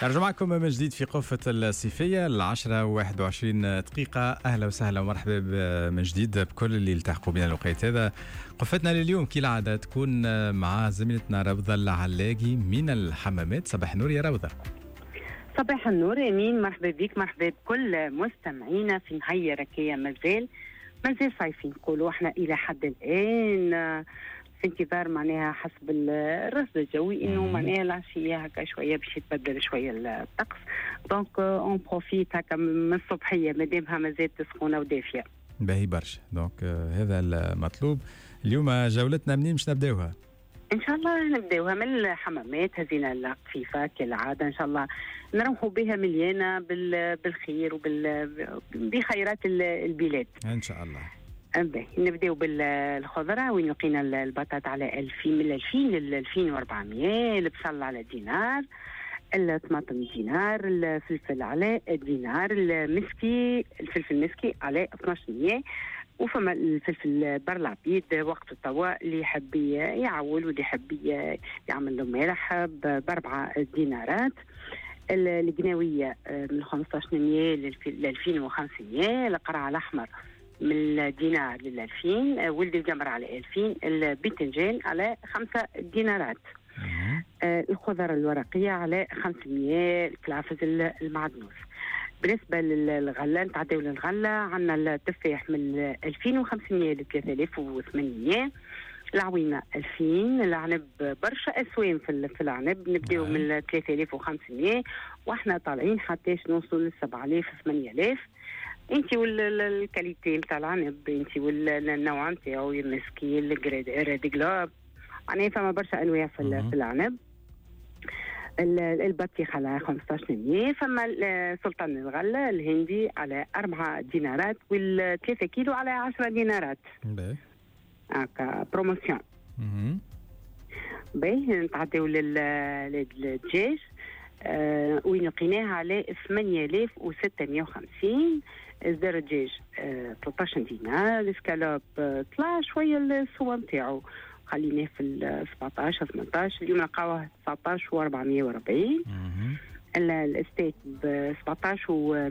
نرجع معكم من جديد في قفة الصيفية، 10:21. أهلا وسهلا ومرحبا من جديد بكل اللي التحقوا بنا الوقت هذا. قفتنا لليوم كالعادة تكون مع زميلتنا روضة العلاقي من الحمامات. صباح النور يا روضة. صباح النور امين، مرحبا بك، مرحبا بكل مستمعينا في نهار هكايا مازال مازال صيفي نقولوا احنا الى حد الان، في انتظار معناها حسب الرصد الجوي انه معناها العشية هكا شوية باش يتبدل شوية الطقس، donc on profite هكا من الصبحية مادامها مازالت سخونة ودافيه. باهي برشا، donc هذا المطلوب. اليوم جولتنا منين باش نبداوها؟ ان شاء الله نبداوها من الحمامات. هزينا القفيفه كالعاده، ان شاء الله نروحوا بها مليانة بالخير بخيرات البلاد. ان شاء الله. باهي، نبداو بالخضره وين لقينا البطاطا على 2000، من 2000 ل 2400، البصل على دينار، الطماطم دينار، الفلفل على دينار، المسكي، الفلفل المسكي على 1200، وفما الفلفل بر العبيد وقت التوا اللي يحب يعول واللي يحب يعمل له مالح ب4 دينارات. القناوية من 1500 ل 2500، القرع الأحمر من الدينار لل 2000، ولد القمر على 2000، الباذنجان على 5 دينارات. الخضر الورقية على 500، الكلافز، المعدنوس. بالنسبة للغلة، نتعداو للغلة، عندنا التفاح من 2500 ل 3800، العوينة 2000، العنب برشا أسوام في العنب، نبداو من 3500 واحنا طالعين حتى نوصلوا ل 7000، 8000، انت وال qualité نتاع العنب، انت والنوع نتاعو، المسكي، ال Red Globe، معناها فما برشا انواع في العنب. البطيخ على 15، فما سلطان الغلة الهندي على 4 دينارات وال 3 كيلو على 10 دينارات. هكا promotion. باهي، نتعداو للدجاج وين لقيناها على 8650، صدر الدجاج 13 دينار، الاسكالوب طلع شوية السوم نتاعو، خليناه في ال 17، 18، اليوم نلقاوه 19 و 440. الستيك ب 17 و